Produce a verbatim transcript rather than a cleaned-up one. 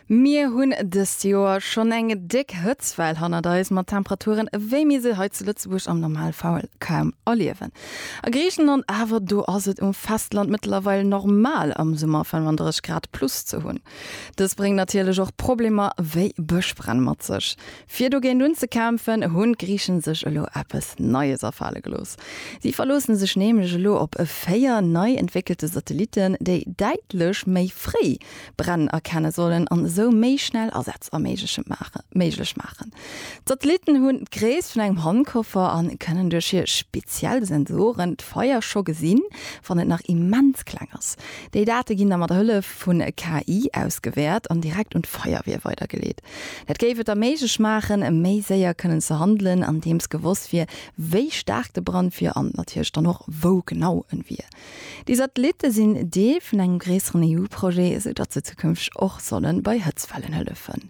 Mir hunn dëst Joer schonn eng déck Hëtztwell hannert eis, mat Temperaturen, wéi mir se hei zu Lëtzebuerg am Normalfall kaum erliewen. A Griichenland awer, do ass et um Festland mëttlerweil normal am Summer fënnefandrësseg Grad plus ze hunn. Dës bréngt natierlech och Problemer wéi Bëschbränn mat sech. Fir dogéint unzekämpfen, hunn d'Griichen sech elo eppes Neies afale gelooss. Si verloosse sech nämlech elo op véier nei entwéckelte Satellitten, déi däitlech méi fréi Bränn erkenne sollen an esou méi schnell Asätz erméigleche maachen, méiglech maachen. D'Satellitten hunn d'Gréisst vun engem Handkoffer an kënnen duerch hir speziell Sensoren d'Feier scho gesinn, wann et nach immens kleng ass. Déi Date ginn da mat Hëllef vun K I ausgewäert an direkt un d'Feierwier weidergeleet. Dat géif et da méiglech maachen, méi séier kënnen ze handelen, andeems gewosst wier, wéi staark de Brand wier an natierlech dann och, wou genau en wier. Déi Satellitte sinn Deel vun engem gréisseren E U-Projet, esou datt se zukünfteg och solle bei Hëtztwellen hëllefen.